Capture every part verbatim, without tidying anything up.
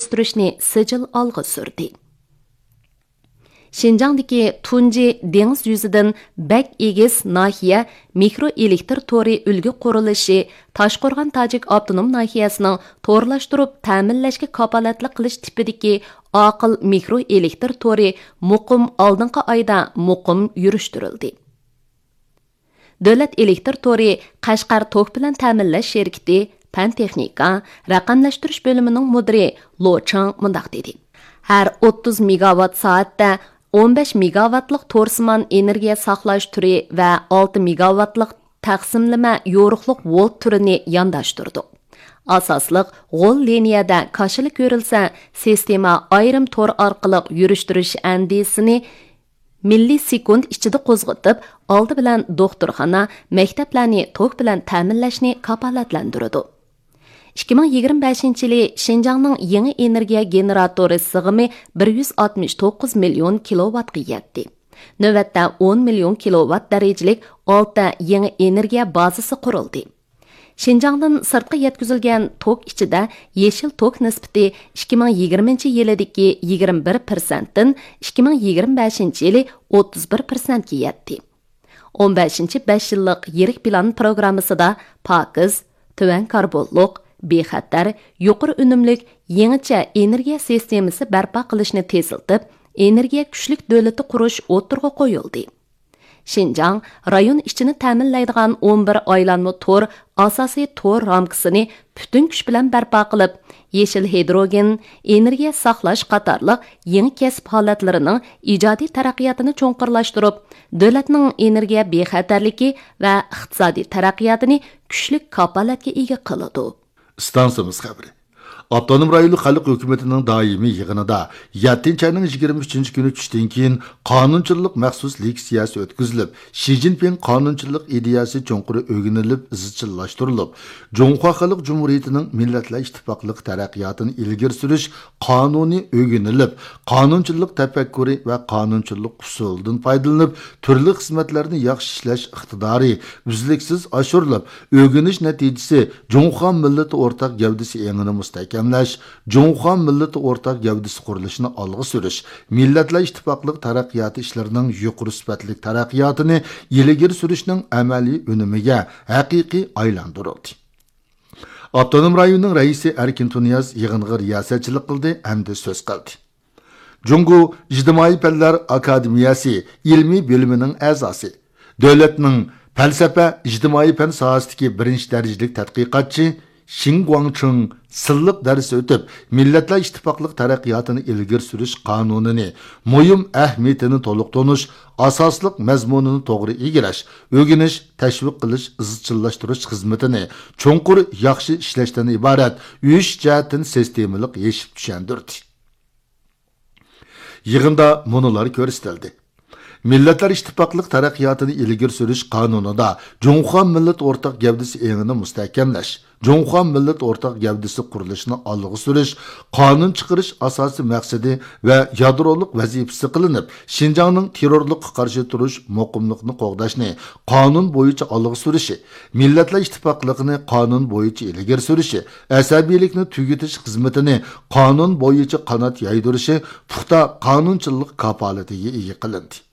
ئۆستۈرۈشنى سىجىل ئالغا سۈردى. شىنجاڭدىكى تۇنجى دېڭىز يۈزىدىن بەك ئېگىز ناھىيە مىكرو ئېلېكتر تورى ئۈلگە قۇرۇلۇشى تاشقورغان تاجىك ئاپتونوم ناھىيەسىنىڭ تورلاشتۇرۇپ تەمىنلەشكە كاپالەتلىك قىلىش تىپىدىكى ئاقىل مىكرو ئېلېكتر تورى مۇقىم ئالدىنقى ئايدا مۇقىم يۈرۈشتۈرۈلدى. دۆلەت ئېلېكتر تورى قەشقەر توك بىلەن تەمىنلەش شىركىتى پەن تېخنىكا، رەقەملەشتۈرۈش بۆلۈمىنىڭ مۇدىرى لو چاڭ مۇنداق دېدى: ھەر ئوتتۇز مېگاۋات سائەتتە ئون بەش مېگاۋاتلىق تورسىمان ئېنېرگىيە ساقلاش تۈرى ۋە ئالتە مېگاۋاتلىق تەقسىملىمە يورۇقلۇق ۋولت تۈرىنى يانداشتۇردۇق. ئاساسلىق غول لىنىيەدە كاشىلا كۆرۈلسە، سىستېما ئايرىم تور ئارقىلىق يۈرۈشتۈرۈش ئەندىزىسىنى مىللىسېكۇنت ئىچىدە قوزغىتىپ، ئالدى بىلەن دوختۇرخانا، مەكتەپلەرنى توك بىلەن تەمىنلەشنى كاپالەتلەندۈرىدۇ. ئىككى مىڭ يىگىرمە بەشىنچى يىلى شىنجاڭنىڭ يېڭى ئېنېرگىيە گېنېراتورى سىغىمى بىر يۈز ئاتمىش توققۇز مىليون كىلوۋاتقا يەتتى. نۆۋەتتە ئون مىليون كىلوۋات دەرىجىلىك ئالتە يېڭى ئېنېرگىيە بازىسى قۇرۇلدى. شىنجاڭدىن سىرتقا يەتكۈزۈلگەن توك ئىچىدە يېشىل توك نىسبىتى ئىككى مىڭ يىگىرمىنچى يىلىدىكى يىگىرمە بىر پىرسەنتتىن ئىككى مىڭ يىگىرمە بەشىنچى يىلى ئوتتۇز بىر پىرسەنتكە يەتتى. ئون بەشىنچى بەش يىللىق يىرىك پىلان پروگراممىسىدا پاكىز، تۆۋەن كاربونلۇق، بىخەتەر، يۇقىرى ئۈنۈملۈك، يېڭىچە ئېنېرگىيە سىستېمىسى بەرپا قىلىشنى تېزلىتىپ، ئېنېرگىيە كۈچلۈك دۆلىتى قۇرۇش ئوتتۇرىغا قويۇلدى. شىنجاڭ رايون ئىچىنى تەمىنلەيدىغان ئون بىر ئايلانما تور ئاساسىي تور رامكىسىنى پۈتۈن كۈچ بىلەن بەرپا قىلىپ، يېشىل ھىدروگېن، ئېنېرگىيە ساقلاش قاتارلىق يېڭى كەسىپ ھالەتلىرىنىڭ ئىجادىي تەرەققىياتىنى چوڭقۇرلاشتۇرۇپ، دۆلەتنىڭ ئېنېرگىيە بىخەتەرلىكى ۋە ئىقتىسادىي تەرەققىياتىنى كۈچلۈك كاپالەتكە ئىگە قىلىدۇ. ئىستانسىمىز خەۋىرى. ئاپتونوم رايونلۇق خەلق ھۆكۈمىتىنىڭ دائىمىي يىغىنىدا يەتتىنچى ئاينىڭ يىگىرمە ئۈچىنچى كۈنى چۈشتىن كېيىن قانۇنچىلىق مەخسۇس لېكسىيەسى ئۆتكۈزۈلۈپ، شى جىنپىڭ قانۇنچىلىق ئىدىيەسى چوڭقۇر ئۆگىنىلىپ ئىزچىللاشتۇرۇلۇپ، جۇڭخۇا خەلق جۇمھۇرىيىتىنىڭ مىللەتلەر ئىتتىپاقلىقى تەرەققىياتىنى ئىلگىرى سۈرۈش قانۇنى ئۆگىنىلىپ، قانۇنچىلىق تەپەككۇرى ۋە قانۇنچىلىق ئۇسۇلىدىن پايدىلىنىپ، تۈرلۈك خىزمەتلەرنى ياخشى ئىشلەش ئىقتىدارى ئۈزلۈكسىز ئاشۇرۇلۇپ، ئۆگىنىش نەتىجىسى جۇڭخۇا مىللىتى ئورتاق گەۋدىسى ئېڭىنى مۇستەھكەملەش، جۇڭخۇا مىللىتى ئورتاق گەۋدىسى قۇرۇلۇشىنى ئالغا سۈرۈش، مىللەتلەر ئىتتىپاقلىق تەرەققىياتى ئىشلىرىنىڭ يۇقىرى سۈپەتلىك تەرەققىياتىنى ئىلگىرى سۈرۈشنىڭ ئەمەلىي ئۈنۈمىگە ھەقىقىي ئايلاندۇرۇلدى. ئاپتونوم رايوننىڭ رەئىسى ئەركىن تۇنىياز يىغىنغا رىياسەتچىلىك قىلدى ھەمدە سۆز قىلدى. جۇڭگو ئىجتىمائىي پەنلەر ئاكادېمىيەسى ئىلمىي بۆلۈمىنىڭ ئەزاسى، دۆلەتنىڭ پەلسەپە، ئىجتىمائىي پەن ساھەسىدىكى بىرىنچى دەرىجىلىك تەتقىقاتچى شېڭ گۇاڭچىڭ سىنلىق دەرس ئۆتۈپ، مىللەتلەر ئىتتىپاقلىق تەرەققىياتىنى ئىلگىرى سۈرۈش قانۇنىنى مۇھىم ئەھمىيىتىنى تولۇق تونۇش، ئاساسلىق مەزمۇنىنى توغرا ئىگىلەش، ئۆگىنىش، تەشۋىق قىلىش، ئىزچىللاشتۇرۇش خىزمىتىنى چوڭقۇر ياخشى ئىشلەشتىن ئىبارەت ئۈچ جەھەتتىن سىستېمىلىق يېشىپ چۈشەندۈردى. يىغىندا مۇنۇلار كۆرسىتىلدى. مىللەتلەر ئىتتىپاقلىق تەرەققىياتىنى ئىلگىرى سۈرۈش قانۇنىدا جۇڭخۇا مىللەت ئورتاق گەۋدىسى ئېڭىنى مۇستەھكەملەش، جۇڭخۇا مىللەت ئورتاق گەۋدىسى قۇرۇلۇشىنى ئالغا سۈرۈش، قانۇن چىقىرىش ئاساسىي مەقسىتى ۋە يادرولۇق ۋەزىپىسى قىلىنىپ، شىنجاڭنىڭ تېررورلۇققا قارشى تۇرۇش، مۇقىملىقنى قوغداشنى قانۇن بويىچە ئالغا سۈرۈشى، مىللەتلەر ئىتتىپاقلىقىنى قانۇن بويىچە ئىلگىرى سۈرۈشى، ئەسەبىيلىكنى تۈگىتىش خىزمىتىنى قانۇن بويىچە قانات يايدۇرۇشى پۇختا قانۇنچىلىق كاپالىتىگە ئىگە قىلىندى.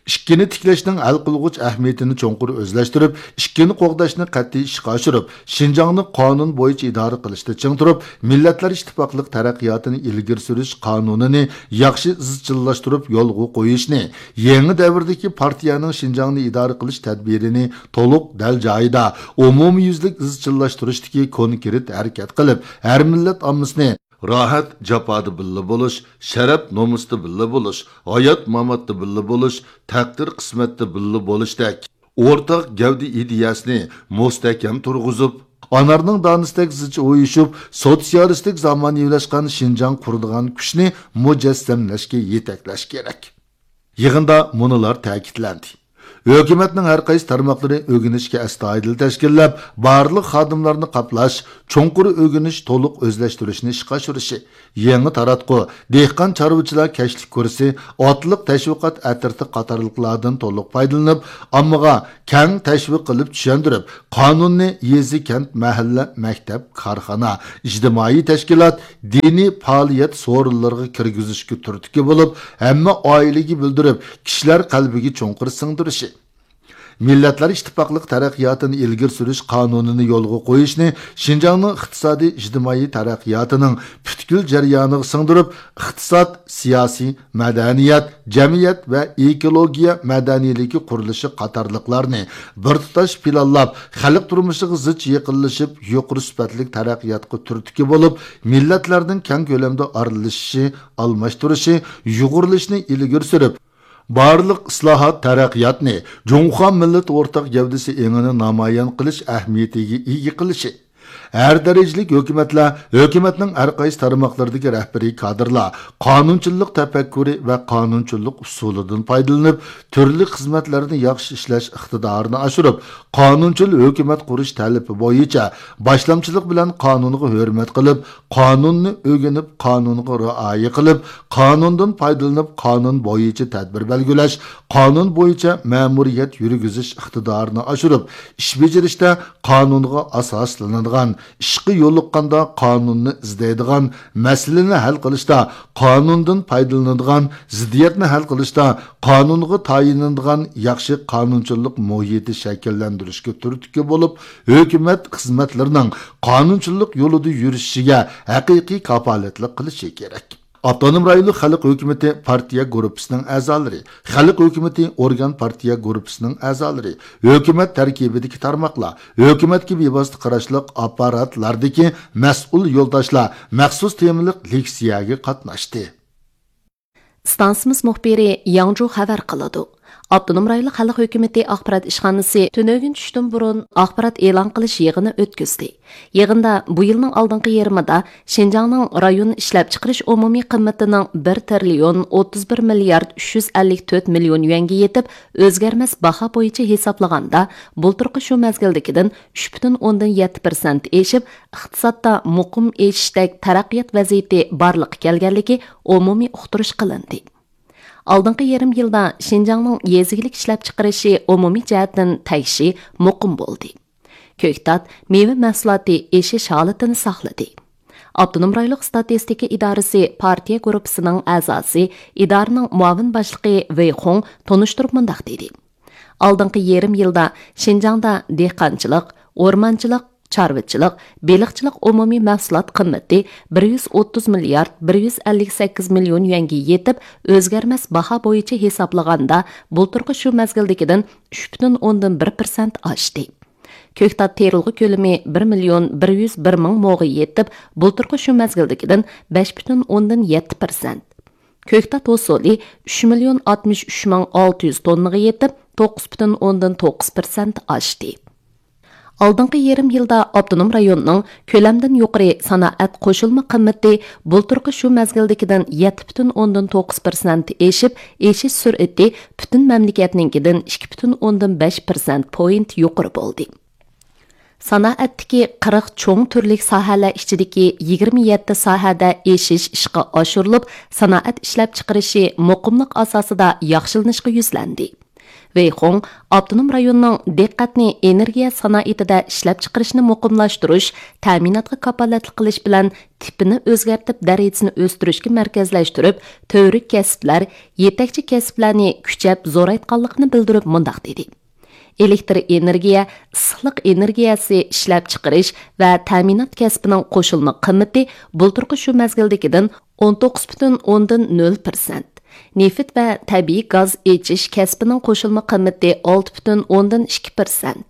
ئىككىنى تىكلەشنىڭ ھەل قىلغۇچ ئەھمىيىتىنى چوڭقۇر ئۆزلەشتۈرۈپ، ئىككىنى قوغداشنى قەتئىي ئىشقا ئاشۇرۇپ، شىنجاڭنى قانۇن بويىچە ئىدارە قىلىشتا چىڭ تۇرۇپ، مىللەتلەر ئىتتىپاقلىق تەرەققىياتىنى ئىلگىرى سۈرۈش قانۇنىنى ياخشى ئىزچىللاشتۇرۇپ يولغا قويۇشنى، يېڭى دەۋردىكى پارتىيەنىڭ شىنجاڭنى ئىدارە قىلىش تەدبىرىنى تولۇق، دەل جايىدا، ئومۇميۈزلۈك ئىزچىللاشتۇرۇشتىكى كونكرېت ھەرىكەت قىلىپ، ھەر مىللەت ئاممىسىنى راھەت جاپادا بىللە بولۇش، شەرەپ نومۇستا بىللە بولۇش، ھايات ماماتتا بىللە بولۇش، تەقدىر قىسمەتتە بىللە بولۇشتەك ئورتاق گەۋدە ئىدىيەسىنى مۇستەھكەم تۇرغۇزۇپ، ئانارنىڭ دانىسىدەك زىچ ئۇيۇشۇپ، سوتسىيالىستىك زامانىۋىلاشقان شىنجاڭ قۇرىدىغان كۈچنى مۇجەسسەملەشكە يېتەكلەش كېرەك. يىغىندا مۇنۇلار تەكىتلەندى. ھۆكۈمەتنىڭ ھەر قايسى تارماقلىرى ئۆگىنىشكە ئەستايىدىل تەشكىللەپ، بارلىق خادىملارنى قاپلاش، چوڭقۇر ئۆگىنىش، تولۇق ئۆزلەشتۈرۈشنى ئىشقا ئاشۇرۇشى، يېڭى تاراتقۇ، دېھقان چارۋىچىلار كەچلىك كۇرسى، ئاتلىق تەشۋىقات ئەترىتى قاتارلىقلاردىن تولۇق پايدىلىنىپ، ئاممىغا كەڭ تەشۋىق قىلىپ چۈشەندۈرۈپ، قانۇننى يېزا، كەنت، مەھەللە، مەكتەپ، كارخانا، ئىجتىمائىي تەشكىلات، دىنىي پائالىيەت سورۇنلىرىغا كىرگۈزۈشكە تۈرتكە بولۇپ، ھەممە ئائىلىگە بىلدۈرۈپ، كىشىلەر قەلبىگە چوڭقۇر سىڭدۈرۈشى. مىللەتلەر ئىتتىپاقلىق تەرەققىياتىنى ئىلگىرى سۈرۈش قانۇنىنى يولغا قويۇشنى شىنجاڭنىڭ ئىقتىسادىي ئىجتىمائىي تەرەققىياتىنىڭ پۈتكۈل جەريانىغا سىڭدۈرۈپ، ئىقتىساد، سىياسىي، مەدەنىيەت، جەمئىيەت ۋە ئېكولوگىيە مەدەنىيلىكى قۇرۇلۇشى قاتارلىقلارنى بىر تۇتاش پىلانلاپ، خەلق تۇرمۇشىغا زىچ يېقىنلىشىپ، يۇقىرى سۈپەتلىك تەرەققىياتقا تۈرتكە بولۇپ، مىللەتلەرنىڭ كەڭ كۆلەمدە ئارىلىشىشى، ئالماشتۇرۇشى، يۇغۇرۇلۇشىنى ئىلگىرى سۈرۈپ، بارلىق ئىسلاھات، تەرەققىياتنى جۇڭخۇا مىللىتى ئورتاق گەۋدىسى ئېڭىنى نامايان قىلىش ئەھمىيىتىگە ئىگە قىلىشى. ھەر دەرىجىلىك ھۆكۈمەتلەر، ھۆكۈمەتنىڭ ھەر قايسى تارماقلىرىدىكى رەھبىرىي كادىرلار قانۇنچىللىق تەپەككۇرى ۋە قانۇنچىللىق ئۇسۇلىدىن پايدىلىنىپ، تۈرلۈك خىزمەتلەرنى ياخشى ئىشلەش ئىقتىدارىنى ئاشۇرۇپ، قانۇنچىل ھۆكۈمەت قۇرۇش تەلىپى بويىچە باشلامچىلىق بىلەن قانۇنغا ھۆرمەت قىلىپ، قانۇننى ئۆگىنىپ، قانۇنغا رىئايە قىلىپ، قانۇندىن پايدىلىنىپ، قانۇن بويىچە تەدبىر بەلگىلەش، قانۇن بويىچە مەمۇرىيەت يۈرگۈزۈش ئىقتىدارىنى ئاشۇرۇپ، ئىش بېجىرىشتە قانۇنغا ئاساسلىنىدىغان، ئىشقا يولۇققاندا قانۇننى ئىزدەيدىغان، مەسىلىنى ھەل قىلىشتا قانۇندىن پايدىلىنىدىغان، زىددىيەتنى ھەل قىلىشتا قانۇنغا تايىنىدىغان ياخشى قانۇنچىلىق مۇھىتى شەكىللەندۈرۈشكە تۈرتكە بولۇپ، ھۆكۈمەت خىزمەتلىرىنىڭ قانۇنچىلىق يولىدا يۈرۈشۈشىگە ھەقىقىي كاپالەتلىك قىلىشى كېرەك. ئاپتونوم رايونلۇق خەلق ھۆكۈمىتى پارتىيە گۇرۇپپىسىنىڭ ئەزالىرى، خەلق ھۆكۈمىتى ئورگان پارتىيە گۇرۇپپىسىنىڭ ئەزالىرى، ھۆكۈمەت تەركىبىدىكى تارماقلار، ھۆكۈمەتكە بىۋاسىتە قاراشلىق ئاپپاراتلاردىكى مەسئۇل يولداشلار مەخسۇس تېمىلىق لېكسىيەگە قاتناشتى. ئىستانسىمىز مۇخبىرى ياڭجۇ خەۋەر قىلىدۇ. ئاپتونوم رايونلۇق خەلق ھۆكۈمىتى ئاخبارات ئىشخانىسى تۈنۈگۈن چۈشتىن بۇرۇن ئاخبارات ئېلان قىلىش يىغىنى ئۆتكۈزدى. يىغىندا بۇ يىلنىڭ ئالدىنقى يېرىمىدا شىنجاڭنىڭ رايون ئىشلەپچىقىرىش ئومۇمىي قىممىتىنىڭ بىر تىرىليون ئوتتۇز بىر مىليارد ئۈچ يۈز ئەللىك تۆت مىليون يۈەنگە يېتىپ، ئۆزگەرمەس باھا بويىچە ھېسابلىغاندا، بۇلتۇرقى شۇ مەزگىلدىكىدىن ئۈچ پۈتۈن ئوندىن يەتتە پىرسەنت ئېشىپ، ئىقتىسادتا مۇقىم ئېشىشتەك تەرەققىيات ۋەزىيىتى بارلىققا كەلگەنلىكى ئومۇمىي ئۇقتۇرۇش قىلىندى. ئالدىنقى يېرىم يىلدا شىنجاڭنىڭ يېزا ئىگىلىك ئىشلەپچىقىرىشى ئومۇمىي جەھەتتىن تەڭشى مۇقىم بولدى. كۆكتات، مېۋە مەھسۇلاتى ئېشىش ھالىتىنى ساقلىدى. ئاپتونوم رايونلۇق ئىستاتىستىكا ئىدارىسى پارتىيە گۇرۇپپىسىنىڭ ئەزاسى، ئىدارىنىڭ مۇئاۋىن باشلىقى ۋېي خۇڭ تونۇشتۇرۇپ مۇنداق دېدى: ئالدىنقى يېرىم يىلدا شىنجاڭدا دېھقانچىلىق، ئورمانچىلىق، چارۋىچىلىق، بېلىقچىلىق ئومۇمىي مەھسۇلات قىممىتى بىر يۈز ئوتتۇز مىليارد بىر يۈز ئەللىك سەككىز مىليون يۈەنگە يېتىپ، ئۆزگەرمەس باھا بويىچە ھېسابلىغاندا، بۇلتۇرقى شۇ مەزگىلدىكىدىن ئۈچ پۈتۈن ئوندىن بىر پىرسەنت ئاشتى. كۆكتات تېرىلغۇ كۆلىمى بىر مىليون بىر يۈز بىر مىڭ موغا يېتىپ، بۇلتۇرقى شۇ مەزگىلدىكىدىن بەش پۈتۈن ئوندىن يەتتە پىرسەنت. كۆكتات ھوسۇلى ئۈچ مىليون ئاتمىش ئۈچ مىڭ ئالتە يۈز توننىغا يېتىپ، توققۇز پۈتۈن ئوندىن توققۇز پىرسەنت ئاشتى. ئالدىنقى يېرىم يىلدا ئاپتونوم رايوننىڭ كۆلەمدىن يۇقىرى سانائەت قوشۇلما قىممىتى بۇلتۇرقى شۇ مەزگىلدىكىدىن يەتتە پۈتۈن ئوندىن توققۇز پىرسەنت ئېشىپ، ئېشىش سۈرئىتى پۈتۈن مەملىكەتنىڭكىدىن ئىككى پۈتۈن ئوندىن بەش پىرسەنت پوينت يۇقىرى بولدى. سانائەتتىكى قىرىق چوڭ تۈرلۈك ساھەلەر ئىچىدىكى يىگىرمە يەتتە ساھەدە ئېشىش ئىشقا ئاشۇرۇلۇپ، سانائەت ئىشلەپچىقىرىشى مۇقىملىق ئاساسىدا ياخشىلىنىشقا يۈزلەندى. ۋېي خۇڭ ئاپتونوم رايوننىڭ دىققەتنى ئېنېرگىيە سانائىتىدە ئىشلەپچىقىرىشنى مۇقىملاشتۇرۇش، تەمىناتقا كاپالەتلىك قىلىش بىلەن تىپىنى ئۆزگەرتىپ، دەرىجىسىنى ئۆستۈرۈشكە مەركەزلەشتۈرۈپ، تۈۋرۈك كەسىپلەر، يېتەكچى كەسىپلەرنى كۈچەپ زورايتقانلىقىنى بىلدۈرۈپ مۇنداق دېدى: ئېلېكتر ئېنېرگىيە، ئىسسىقلىق ئېنېرگىيەسى ئىشلەپچىقىرىش ۋە تەمىنات كەسپىنىڭ قوشۇلما قىممىتى بۇلتۇرقى شۇ مەزگىلدىكىدىن ئون توققۇز پۈتۈن ئوندىن نۆل پىرسەنت، نېفىت ۋە تەبىئىي گاز ئېچىش كەسپىنىڭ قوشۇلما قىممىتى ئالتە پۈتۈن ئوندىن ئىككى پىرسەنت،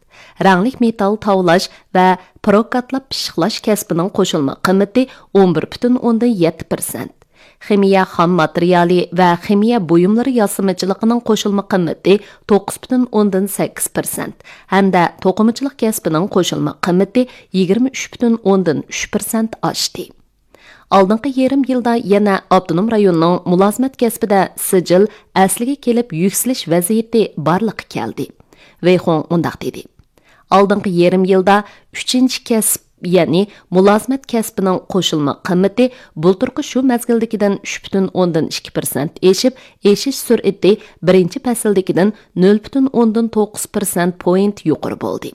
رەڭلىك مېتال تاۋلاش ۋە پروكاتلاپ پىششىقلاش كەسپىنىڭ قوشۇلما قىممىتى ئون بىر پۈتۈن ئوندىن يەتتە پىرسەنت، خىمىيە خام ماتېرىيالى ۋە خىمىيە بۇيۇملىرى ياسىمىچىلىقىنىڭ قوشۇلما قىممىتى توققۇز پۈتۈن ئوندىن سەككىز پىرسەنت ھەمدە توقۇمىچىلىق كەسپىنىڭ قوشۇلما قىممىتى يىگىرمە ئۈچ پۈتۈن ئوندىن ئۈچ پىرسەنت ئاشتى. ئالدىنقى يېرىم يىلدا يەنە ئاپتونوم رايوننىڭ مۇلازىمەت كەسپىدە سىجىل ئەسلىگە كېلىپ يۈكسىلىش ۋەزىيىتى بارلىققا كەلدى. ۋېي خۇڭ مۇنداق دېدى: ئالدىنقى يېرىم يىلدا ئۈچىنچى كەسىپ، يەنى مۇلازىمەت كەسپىنىڭ قوشۇلما قىممىتى بۇلتۇرقى شۇ مەزگىلدىكىدىن ئۈچ پۈتۈن ئوندىن ئىككى پىرسەنت ئېشىپ، ئېشىش سۈرئىتى بىرىنچى پەسىلدىكىدىن نۆل پۈتۈن ئوندىن توققۇز پىرسەنت پوينت يۇقىرى بولدى.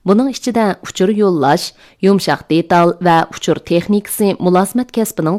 بۇنىڭ ئىچىدە ئۇچۇر يوللاش، يۇمشاق دېتال ۋە ئۇچۇر تېخنىكىسى مۇلازىمەت كەسپىنىڭ